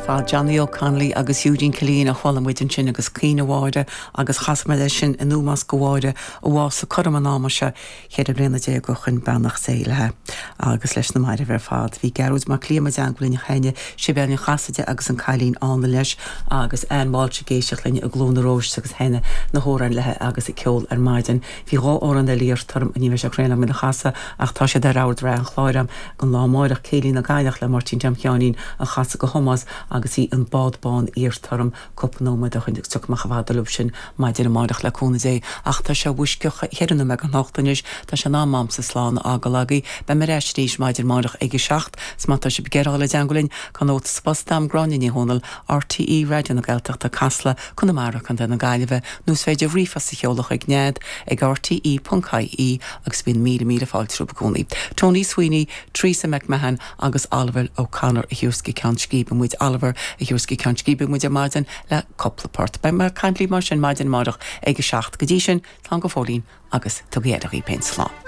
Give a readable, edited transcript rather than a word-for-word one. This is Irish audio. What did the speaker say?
fad. Johnny O'Connolly agus Eugene Killeen a chuala muid ansin agus Caoineadh Mháire agus chas mé leis sin in ómós do Mháire a bhásaigh cothrom an ama seo cheithre bliana déag ó shoin, beannacht Dé léi agus leis na mairbh ar fad. Bhí Gearóid Mac Liam i dteangmháil linn cheana, Sibéal Ní Chasaide agus an Cailín Álainn leis agus Ann Walsh ag éisteacht linn i gCluain na Róis agus sheinneadh na hamhráin léi agus ag ceol ar maidin. Bhí dha amhrán eile iarrta orm, ní bheidh sé cruinn agam iad a chasadh ach tá siad ar ord reatha an chláir agam don lá amáireach, Céilí na gCailleach le Máirtín Tom Sheáinín a chasadh do Thomás agus bhí An Bád Bán iarrta orm cúpla nóiméad ó shoin agus tiocfaidh mé chomh fada libh sin maidin amáireach le cúnamh Dé. Ach tá sé uisce cheithre nóiméad don hocht anois, tá sé in am a'msa slán a fhágáil agaibh. Beidh mé ar ais arís maidin amáireach ag a seacht, 's má tá sibh ag iarraidh dul i dteangmháil linn, tá nóta sa bpost a'm, Gráinne Ní Dhomhnaill, RTÉ Raidió na Gaeltachta, Casla, Conamara, Co. na Gaillimhe, nó is féidir ríomhphost a sheoladh chuig nead ag rte ponc ie agus bíonn míle míle fáilte romhaibh i gcónaí. Tony Sweeney, Teresa McMahon agus Oliver O'Connor a thabharfas go Ceann Scríbe muid Oliver a thabharfas go Ceann Scríbe muid ar maidin le cúpla port. Beidh mé ag caint libh mar sin maidin amárach ag a 7. Go dtí sin, slán go fóillín agus tugaigí aire dhaoibh féin. Slán.